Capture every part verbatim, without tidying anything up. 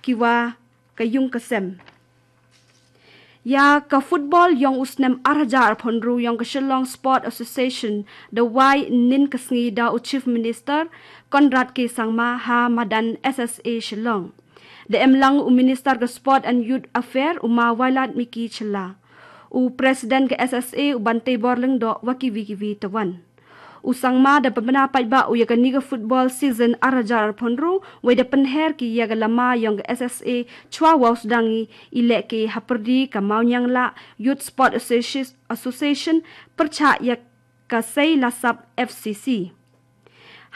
ki wa ka yung ka sem. Ïa ka football yong u snem ar hajar arphew hynriew yong ka Shillong Sport Association da wai nin ka sngi da u Chief Minister Conrad K Sangma ha madan S S A Shillong. Da em lang u Minister ka Sport and Youth Affair u ma Wailadmiki Shylla, u President ka S S A u Banteibor Lyngdoh wa kiwi kiwi tawon. U Sangma da pynbna paidbah u ïa kani ka football season ar hajar arphew hynriew, wei da pynher ki ïa ka lama yong ka S S A chwa wow sdang i lehke hapyrdi ka Mawniangla Youth Sport Association, Association pyrchah ïa ka Seilasap F C C.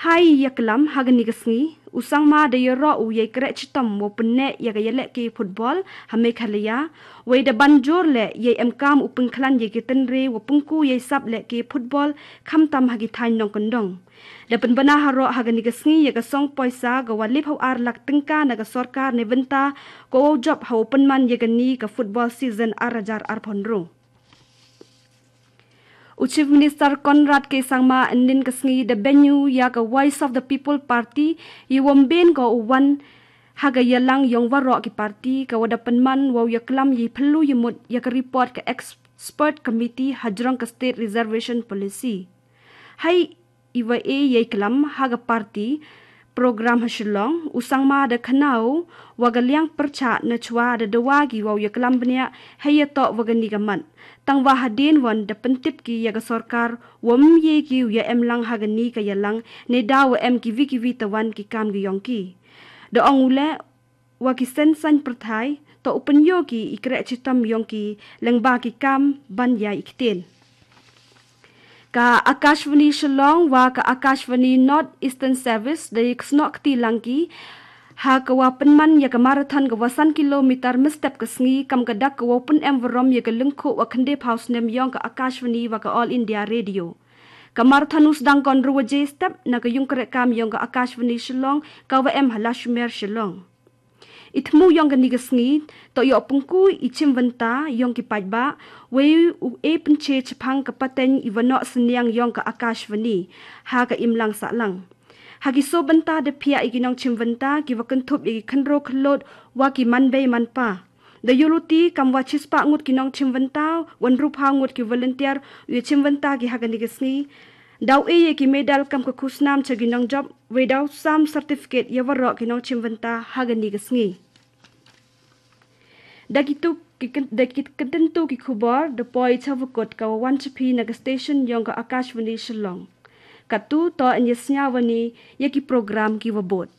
Hai ïa klam ha kani ka sngi, u Sangma da ïaroh u ïa i kreh chitom wow pynneh ïa ka ïalehke football ha Meghalaya, wei da ban jur leh ïa i emkam u pynkhlaiñ ïa ki tynrai wow pynku ïa i sap lehke football khamtam ha ki thaiñ nongkyndong. Da pynbna haroh ha kani ka sngi ïa ka song poisa ka wa liphew ar lak tyngka na ka sorkar ne bynta ka wow jop ha wow pynman ïa kani ka football season ar hajar arphew hynriew. U Chief Minister Conrad K Sangma nin ka sngi da bynñiu ïa ka Voice of the People Party, i wym byn ko u wan ha ka ïalang yong waroh ki party ka wa da pynman wow ïa klam i phylla i mut ïa ka report ka expert committee hajrong ka State Reservation Policy. Hai i wa e ïa i klam ha ka party program ha Shillong, u Sangma da khana u wa ka liang pyrchah na chwa da dawa ki wow ïa klam bniah hei ïa toh wa kani ka mat. Tang wa hadien wan da pyntip ki ïa ka sorkar wym ïa ki u ïa em lang ha kani ka ïalang ne da wa em kiwi kiwi tawon ki kam ki yong ki. Da ong u leh wa ki seng saiñ pyrthai to u pynïoh ki i kreh chitom yong ki lyngba ki kam ban ïa i ktien. Ka Akashvani Shillong wa ka Akashvani North Eastern Service da ïa ksnoh kti lang ki ha ka wa pynman ïa ka marathon ka wa san kilometer mynstep ka sngi kam ka dak ka wa pyn em warom ïa ka lyngkhuh wa khyndai phaw snem yong ka Akashvani wa ka All India Radio. Ka marathon u sdang ka hynriew waje step na ka yung kreh kam yong ka Akashvani Shillong ka wa em ha Lashumer Shillong. I thmu yong kani ka sngi to ïoh pynku i chimbynta yong ki paidbah, wei u e pynche chaphang ka pateng i wa noh synñiang yong ka Akashvani ha ka imlang sahlang. Ha ki soo bynta da phiah ïa ki nongchimbynta ki wa kynthup ïa ki khynroo khyllood wa ki manbei manpa. Da ïuh luti kam wa chispah ngut ki nongchimbynta, wa hynriewphaw ngut ki volunteer u ïa chimbynta ki ha kani ka sngi. Da u e ïa ki medal kam ka khusnam cha ki nongjop, wei da u sam certificate ïa waroh ki nongchimbynta ha kani ka sngi. Da ki tu ki kyn-, da ki kyntien tu ki khubor da poi cha wa kut ka wa wan cha phi na ka station yong ka Akashvani Shillong. Katu to yn ïa sñiawbha ïa ki program ki wa bud.